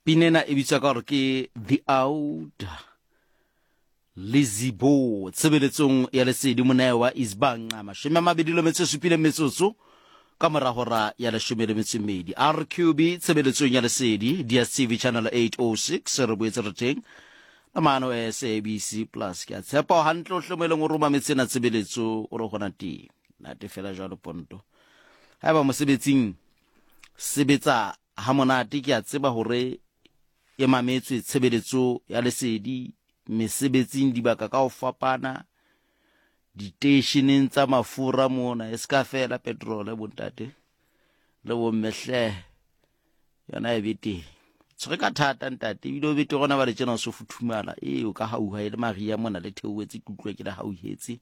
Pina ena e bitswa ka gore ke The Out Lizibo tshebeletsong ya lesedi monewa isbanqa 27 metsotso ka morago ra ya 12. RQB tshebeletsong ya lesedi DSTV channel 806 re boetse re teng le maano SABC plus. Ke a tshepa o hantle o hle mo e leng o roma metsena tshebeletso o re gona teng nate fela jwalo ponto haeba mosebetsing sebetsa ha monate ke a tseba hore e mametswe tshebeletso ya lesedi mesebetsing dibaka ka ho fapana diteisheneng tsa mafura mona e se ka fela petrole bontate le bomme hle yona e be teng tshwere ka thata ntate ebile o bete gona ba le tjena o se futhumala ee o ka hauha e le maria mona le theoetse ke utlwa ke le hauhetse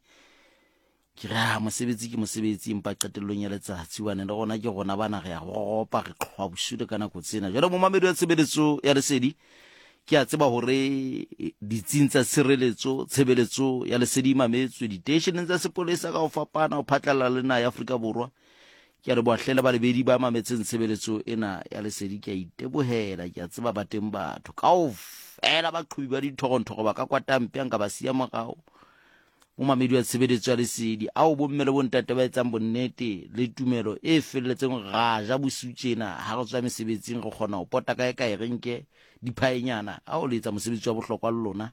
Ke re, ah, mosebetsi ke mosebetsi, empa qetellong ya letsatsi, hobane le rona ke rona bana re a ropa, re qhoa bosiu le ka nako tsena. Jwale momamedi wa tshebeletso ya lesedi, ke a tseba hore ditsing tsa tshireletso, tshebeletso ya lesedi e mametswe diteisheneng tsa sepolesa ka ho fapana ho phatlalla le naha ya Afrika Borwa. Ke a leboha hle le balebedi ba mametseng tshebeletso ena ya lesedi, ke a itebohela, ke a tseba ba teng batho kaofela baqhobi ba dithorontoro ba ka kwatampe a nka ba siya morao. Momamedi wa tshebeletso ya lesedi, ao bomme le bontate ba etsang bonnete le tumelo e felletseng ra ja bosiu tjena ha re tswa mesebetsing re kgona ho pota kae kae re nke diphaenyana ao le etsa mosebetsi wa bohlokwa le lona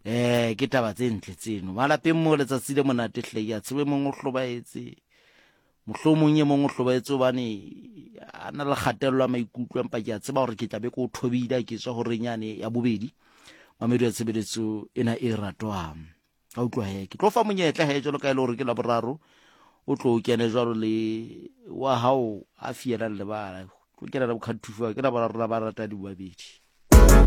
eh ke taba tse ntle tseno malapeng mo letsatsi le monate hle ya tsebe mong o hlobaetse mohlomong e mong o hlobaetse hobane a na le kgatello ya maikutlo empa ke a tseba gore ke tla be ke o thobile ke tswa horeng yane ya bobedi mamedi wa tshebeletso ena e ratwang ka utlwa he ke tlo fa monyetla he jalo ka e le gore ke la boraro o tlo o kene jalo le wa hao a fielang lebala tlo kena le bokgathufa ke la boraro la ba rata di babedi.